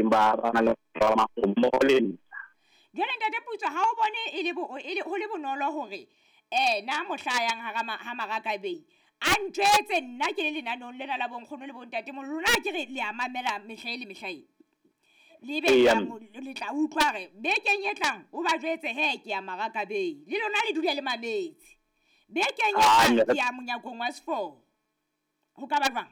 teng ba ba na le ba mmoho le nna. Jwale ntate Putswa, ha o bone e le bo e le ho le bonolo hore na mohla a yang hara ha Marakabei a ntjwetse nna ke le lenaneong lena la bonkgono le bontate mo lona, ke re le a mamela mehla e le mehla e le be le tla utlwa re bekeng e tlang o ba jwetse he ke ya Marakabei, le lona le dule le mametse bekeng e tlang ke ya monyakong wa seforo. Ho ka ba jwang?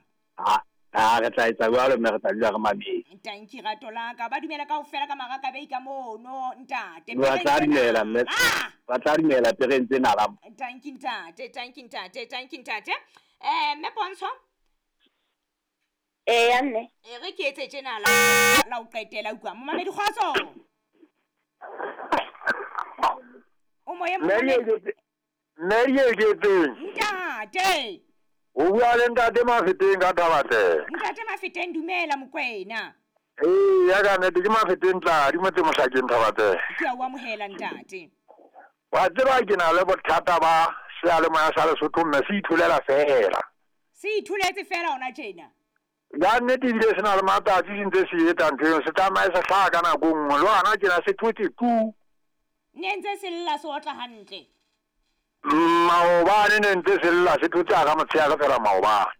A re tla etsa jwalo, mme re tla dula re mametse. Tanki rato la ka, ba dumela kaofela ka Marakabei ka mono ntate. Ba tla dumela mme, ba tla dumela pereng tse nala. Tanki ntate, tanki ntate, tanki ntate. Mme Pontsho? Eya mme. E re ke etse tjena la ho qetela utlwa. Momamedi kgotso. O moyeng momamedi. Mme Dieketseng. Ntate. O bua le ntate Mafeteng ka Thabatle. Ntate Mafeteng, dumela Mokwena. Ee, ya ka nnete ke Mafeteng Tladi motse mohlakeng Thabatle. Ke a o amohela ntate. Wa tseba ke na le bothata ba seyalemoya sa Lesotho mme se itholela fela. Se itholetse fela hona tjena. Ya nnete ebile se na le matsatsi se ntse se etsa ntho eo, se tsamaye se hlaha ka nako e nngwe le hona tjena se thotse tu. Ne ntse se lla se otla hantle. Maobane ne ntse se lla se thotse hara motshehare fela maobane.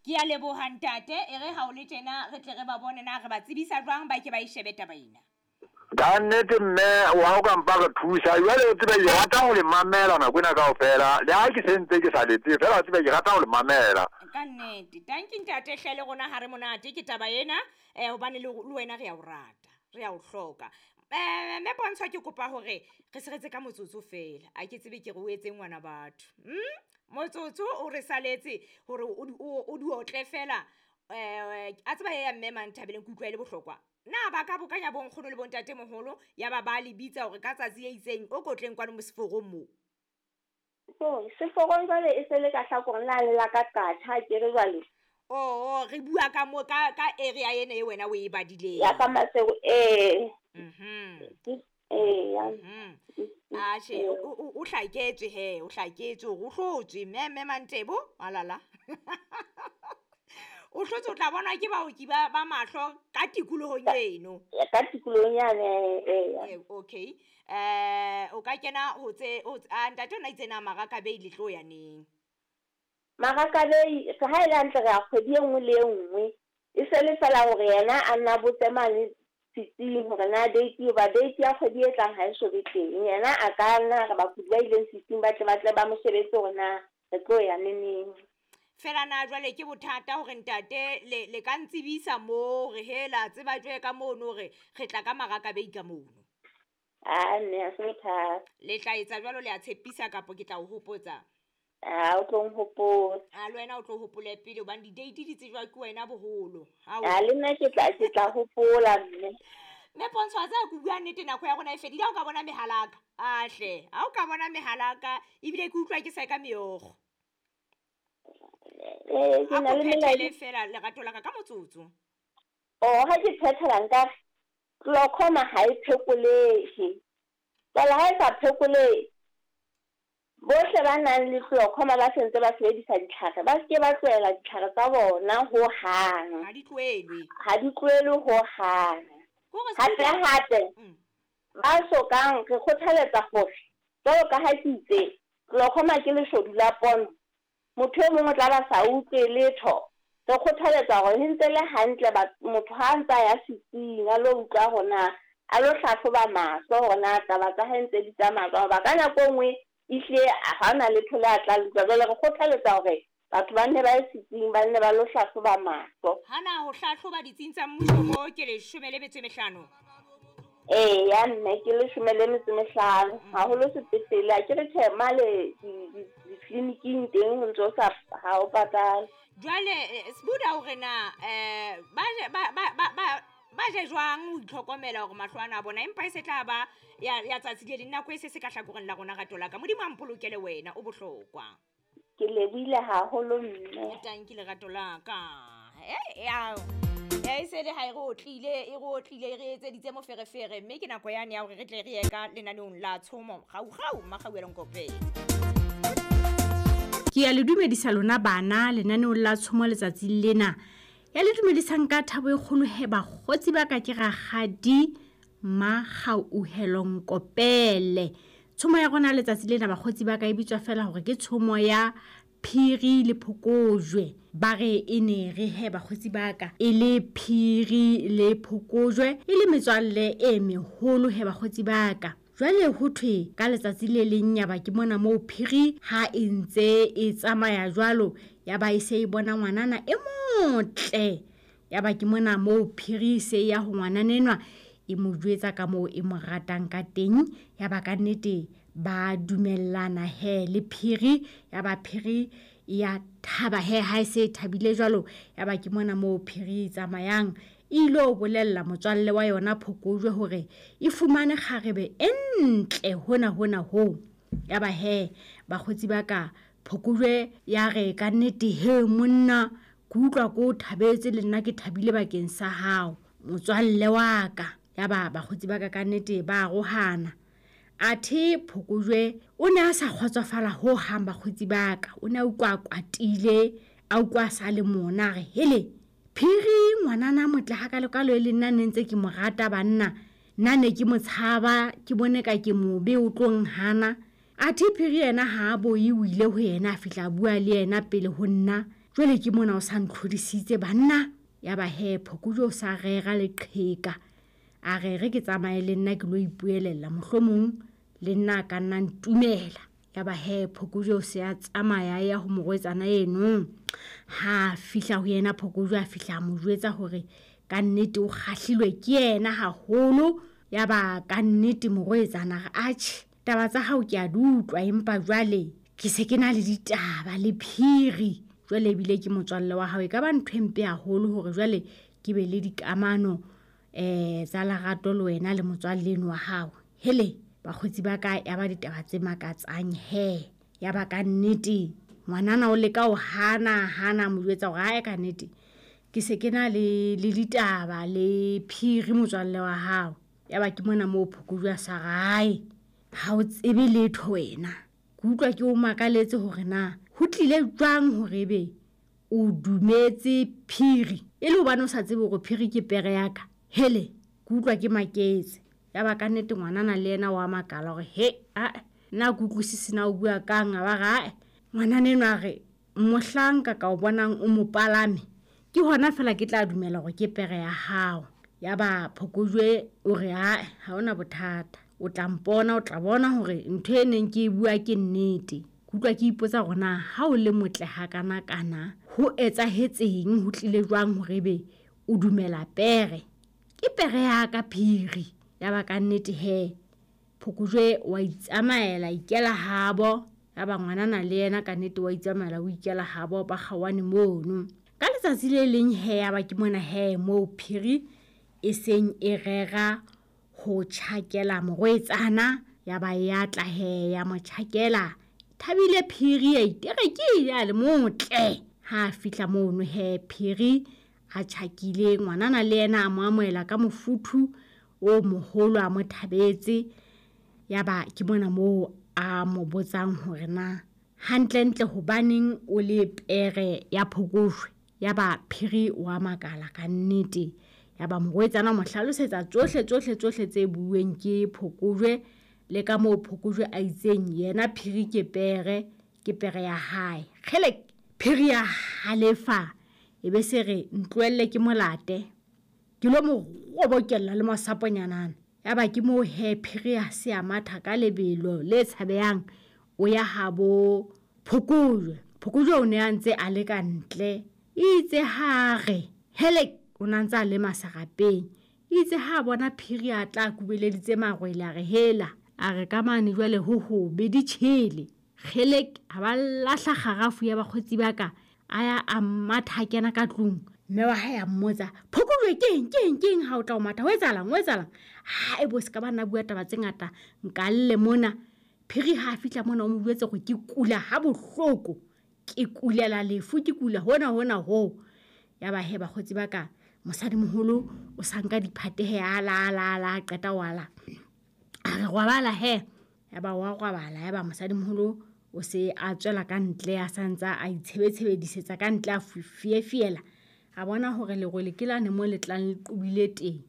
Ke a leboha ntate, e re ha o le tjena re tle re ba bone na re ba tsebisa jwang ba ke ba e shebe taba ena. Ka nnete mme wa o ka mpa re thusa, jwale o tsebe ke rata ho le mamela nako ena kaofela, le ha ke sentse ke sa letse fela o tsebe ke rata ho le mamela. Ka nnete, tanki ntate hle le rona ha re monate ke taba ena, hobane le wena re a o rata, re a o hloka. Mme Pontsho ke kopa hore re seretse ka motsotso fela, a ke tsebe ke re o etse ngwana batho. Motsotso o re saletse hore o di otle fela, a tseba ya mme Manthabeleng ke utlwa e le bohlokwa. Na ba ka bokanya bonkgono le bontate moholo ya ba ba le bitsa hore ka tsatsi le itseng o kotleng kwano mo seforong mo. So, seforong jwale e se le ka hlakoreng la le la ka qatha ke re jwale. Oh, re bua ka mo ka area ena e wena o e badileng. Ya ka Maseko eh. Ya. A che o hlaketswe he, o hlaketswe o hlotswe mme Mantebo alala. O hlotse o tla bona ke baoki ba mahlo ka tikolohong eno. Ya ka tikolohong yane eh. Okay. O ka kena ho tse ntate ona itse na Marakabei le tlo ya neng? Marakabei ha ile hantle re a kgwedi e nngwe le e nngwe. E se le fela hore yena a nna botse mane setsing hore na date ba date ya kgwedi e tlang ha e so be teng. Yena a ka nna re bakudi ba ileng setsing ba tle ba mo shebetse hore na re tlo ya neneng. Fela na jwale ke bothata hore ntate le ka ntsebisa mo re hela tseba jwe ka mono hore re tla ka Marakabei ka mono. A nne a se bothata. Le tla etsa jwalo le a tshepisa kapo ke tla o hopotsa? A o tlo nhopotsa. A le wena o tlo hopole pele hobane di-date di tsejwa ke wena boholo. A le nna ke tla hopola mme. Mme Pontsho a tseba ke bua nnete nako ya rona e fedile, ha o ka bona mehalaka. A hle, ha o ka bona mehalaka ebile ke utlwa ke sa ka meokgo. Ke na le melaetsa fela lerato la ka ka motsotso. Oh, ha ke phethela nka glaucoma ha e phekolehe. Jwale ha e sa phekolehe, bohle ba nang le glaucoma ba sentse ba sebedisa ditlhare, ba seke ba tlohela ditlhare tsa bona ho hang. Ha di tlohele. Ha di tlohele ho hang. Hape ba sokang re kgothaletsa hore jwalo ka ha ke itse glaucoma ke leshodu la pono. Motho e mong o tla ba sa utlwe letho. Re kgothaletsa hore ho ntse le hantle motho ha ntsa ya setsing a lo utlwa hore a lo hlahloba mahlo hore na taba tsa hae ntse di tsamaya jwang. Hoba ka nako e nngwe ehlile ha hona letho le a tla le utlwa. Jwale re kgothaletsa hore batho ba nne ba ye setsing, ba nne ba lo hlahloba mahlo. Hana ho hlahloba ditsing tsa mmuso mo ke 15. Ya mme ke 15 haholo sepetlele. Ha ke re tjhe male ditleliniking teng ho ntso sa ha o patale. Jwale Sbuda hore na ba je jwang ho itlhokomela hore mahlo ana a bona, empa e se tla ba ya tsatsi le leng, nako e se se ka hlakoreng la rona rato la ka. Modimo a mpolokele wena, o bohlokwa. Ke lebohile haholo mme. Tanki lerato la ka. E se le ha e re otlile, e re otlile, e re etseditse moferefere, mme ke nako yane ya hore re tle re ye ka lenaneong la tshomo. Gau-gau, Makgauelong Kopeng. Ke a le dumedisa lona bana lenaneong la tshomo letsatsing lena. Ya le dumedisang ka thabo e kgolo he bakgotsi ba ka ke rakgadi Makgauhelo Nkopele. Tshomo ya rona letsatsi lena bakgotsi ba ka e bitswa fela hore ke tshomo ya Phiri le Phokojwe. Ba re e ne re he bakgotsi ba ka e le Phiri le Phokojwe e le metswalle e meholo he bakgotsi ba ka. Jwale ho thwe ka letsatsi le leng ya ba ke mona moo Phiri ha e ntse e tsamaya jwalo ya ba e se e bona ngwanana e motle. Ya ba ke mona moo Phiri e se e ya ho ngwanana enwa e mo jwetsa ka moo e mo ratang ka teng. Ya ba ka nnete ba dumellana he le Phiri. Ya ba Phiri ya thaba he ha e se e thabile jwalo. Ya ba ke mona moo Phiri e tsamayang e ilo bolella motswalle wa yona Phokojwe hore e fumane kgarebe e ntle hona hona hoo. Ya ba he bakgotsi ba ka Phokojwe ya re ka nnete he monna ke utlwa ko o thabetse le nna ke thabile bakeng sa hao motswalle wa ka. Ya ba bakgotsi ba ka ka nnete ba arohana. Athe Phokojwe o ne a sa kgotsofala ho hang bakgotsi ba ka. O ne a utlwa a kwatile, a utlwa a sa le mona a re hele Phiri ngwanana motle hakalokalo e le nna ne ntse ke mo rata banna. Nna ne ke mo tshaba ke bone ka ke mobe o tlo nhana. Athe Phiri yena ha a boye o ile ho yena a fihla a bua le yena pele ho nna. Jwale ke mona o sa ntlhodisitse banna. Ya ba he Phokojwe o sa rera leqheka. A re re ke tsamaye le nna ke lo ipuelella mohlomong le nna a ka nna ntumela. Ya ba he Phokojwe o se a tsamaya ya ho morwetsana eno. Ha fihla ho yena Phokojwe a fihla a mo jwetsa hore ka nnete o kgahlilwe ke yena haholo. Ya ba ka nnete morwetsana re atjhe taba tsa hao ke a di utlwa empa jwale ke se ke na le ditaba le Phiri. Jwale ebile ke motswalle wa hao e ka ba ntho e mpe haholo hore jwale ke be le dikamano tsa lerato le wena le motswalle eno wa hao. Hele bakgotsi ba ka ya ba ditaba tse makatsang he. Ya ba ka nnete ngwanana o leka ho hana hana mo jwetsa hore hae ka nnete ke se ke na le ditaba le Phiri motswalle wa hao. Ya ba ke mona moo Phokojwe a sa rae ha o tsebe letho wena. Ke utlwa ke o makaletse hore na ho tlile jwang hore ebe o dumetse Phiri e le hobane o sa tsebe hore Phiri ke pere ya ka. Hele ke utlwa ke maketse. Ya ba ka nnete ngwanana le yena wa makala hore he a nna ke utlwisise na o bua kang. A ba re ae ngwanana enwa a re mohlanka ka o bonang o mo palame ke hona fela ke tla dumela hore ke pere ya hao. Ya ba Phokojwe o re ae ha hona bothata o tla mpona o tla bona hore ntho e neng ke e bua ke nnete. Ke utlwa ke ipotsa hore na ha o le motle hakana-kana ho etsahetseng ho tlile jwang hore ebe o dumela pere. Ke pere ya ka Phiri. Ya ba ka nnete he Phokojwe wa itsamaela ikela habo. Ya ba ngwanana le yena ka nnete wa itsamaela o ikela habo ba kgaohane mono. Ka letsatsi le leng he ya ba ke mona he moo Phiri e seng e rera ho tjhakela morwetsana. Ya ba ya tla he ya mo tjhakela. Thabile Phiri ya iterekile a le motle. Ha fihla mono he Phiri a tjhakile ngwanana le yena a mo amohela ka mofuthu o moholo a mo thabetse. Ya ba ke mona moo a mo botsang hore na hantlentle hobaneng o le pere ya Phokojwe. Ya ba Phiri wa makala ka nnete. Ya ba morwetsana mo hlalosetsa tsohle tsohle tsohle tse bueng ke Phokojwe le ka moo Phokojwe a itseng yena Phiri ke pere ya hae. Kgele Phiri ya halefa e be se re ntlohelle ke molate ke lo mo robokella le masaponyanana. Ya ba ke moo he Phiri a se a matha ka lebelo le tshabehang o ya habo Phokojwe. Phokojwe o ne a ntse a le ka ntle itse ha re hele o na ntse a le masarapeng. Itse ha bona Phiri a tla kubeleditse marwele a re hela a re ka mane jwale ho hobe di tjhele. Kgele a ba lahla kgarafu ya bakgotsi ba ka a ya a matha kena ka tlung. Mme wa hae a mmotsa Phokojwe keng keng keng ha o tla o matha ho etsahalang ho etsahalang. Ha e bo se ka ba nna bua taba tse ngata nka lle mona. Phiri ha fihla mona o mo jwetse hore ke kula ha bohloko ke kulela lefu ke kula hona hona ho. Ya ba he bakgotsi ba ka mosadimoholo o sa nka diphatehe a la la la qeta wa la. A re robala he. Ya ba wa robala ya ba mosadimoholo o se a tswela ka ntle a santsa a itshebetshebedisetsa ka ntle a fiefiela. A bona hore lerwele ke lane mo le tlang le qobile teng.